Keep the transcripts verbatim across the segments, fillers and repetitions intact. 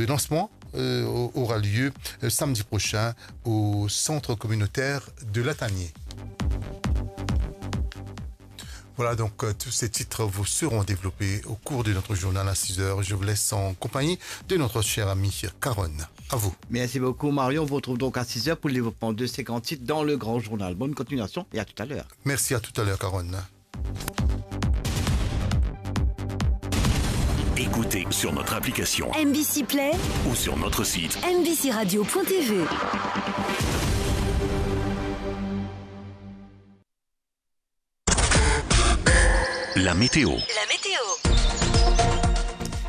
Lancement, euh, au- aura lieu, euh, samedi prochain au centre communautaire de Latanier. Voilà, donc, euh, tous ces titres vous seront développés au cours de notre journal à six heures. Je vous laisse en compagnie de notre cher ami Caron. À vous. Merci beaucoup, Mario. On vous retrouve donc à six heures pour le développement de cinquante titres dans le grand journal. Bonne continuation et à tout à l'heure. Merci, à tout à l'heure, Caron. Écoutez sur notre application M B C Play ou sur notre site M B C radio point T V. La météo. La météo.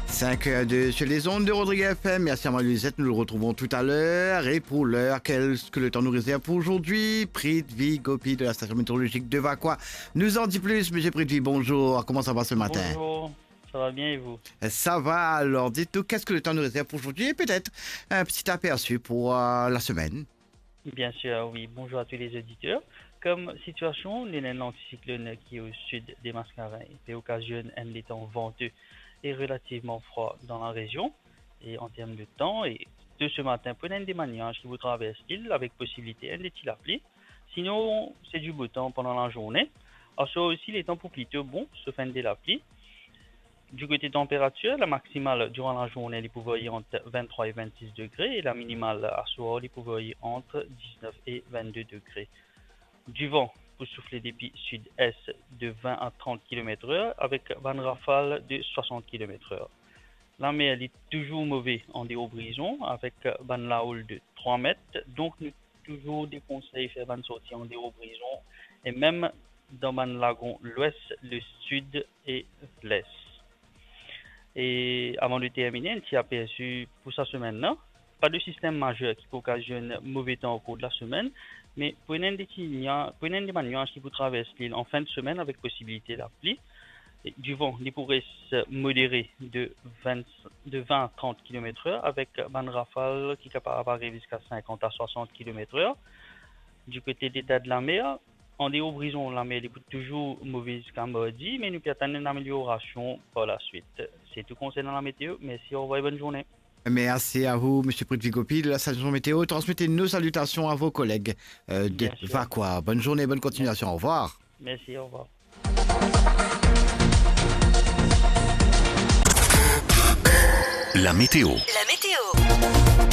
Cinq heures deux sur les ondes de Rodriguez F M. Merci à Marie-Lisette. Nous le retrouvons tout à l'heure. Et pour l'heure, qu'est-ce que le temps nous réserve pour aujourd'hui ? Prithvi Gopi de la station météorologique de Vacoas nous en dit plus. Monsieur Prithvi, bonjour. Comment ça va ce matin ? Bonjour, ça va bien et vous ? Ça va. Alors, dites-nous, qu'est-ce que le temps nous réserve pour aujourd'hui ? Et peut-être un petit aperçu pour, euh, la semaine. Bien sûr, oui. Bonjour à tous les auditeurs. Comme situation, nou ena enn anticyclone qui est au sud des Mascareignes, qui occasionne un temps venteux et relativement froid dans la région. Et en termes de temps, et de ce matin, pou ena enn de bann niaz ki pou travers lil avek posibilite enn de ti lapli. Sinon, c'est du beau temps pendant la journée. Aswar osi, le temps pou plito bon, sof enn de lapli. Du côté température, la maximale durant la journée, li pou varier entre vingt-trois et vingt-six degrés et la minimale aswar, li pou varier entre dix-neuf et vingt-deux degrés. Du vent pou soufle depi sud-est de vingt à trente kilomètres heure avec bann rafal de soixante kilomètres heure. Lamer, li touzour move an deor Brison avek bann lahoul de trois mètres, donk nou touzour dekonsey fer bann sorti an deor Brison e mem dan bann lagon lwes, le sud e les. E avan de termine, enn ti apersi pou sa semenn la. Pa de sistem mazer ki pou okazionn move tan okour de la semenn, me pou ena enn de ti nia-, pou ena enn de bann niaz ki pou travers lil an fin de semenn avek posibilite lapli. E du vent, li pou res modere de vingt, de vingt à trente kilomètres heure avek bann rafal ki kapav ariv ziska cinquante à soixante kilomètres heure. Du côté de l'état de la mer, an deor Brison, lamer li pou touzour move ziska mardi, me nou pe atann enn ameliorasion par la suite. C'est tout concernant la météo. Merci, au revoir et bonne journée. Merci à vous, Monsieur Prithvi Gopi de la station météo. Transmettez nos salutations à vos collègues, euh, de Bien sûr. Vacoas. Bonne journée, bonne continuation. Au revoir. Merci, au revoir. La météo. La météo.